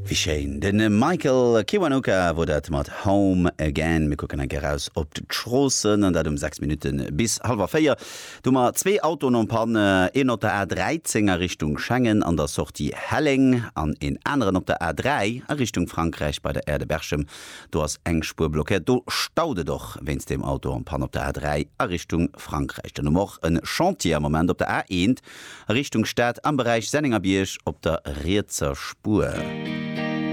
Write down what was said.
Wéi schéin! De Michael Kiwanuka wor dat mat Home Again. Mir kucken eng Kéier raus op d'Stroossen, an dat um 6 Minutte bis hallwer 4. Do hu mer zwee Autoen en panne, een op der A13 a Richtung Schengen an der Sortie Helleng an een aneren op der A3 a Richtung Frankräich bei der Aire de Berchem. Do ass eng Spuer blockéiert. Do staut et och wéinst deem Auto en panne op der A3 a Richtung Frankräich. Dann hu mer och e Chantier am Moment op der A1 A Richtung Stad am Beräich Sennengerbierg op der rietser Spuer.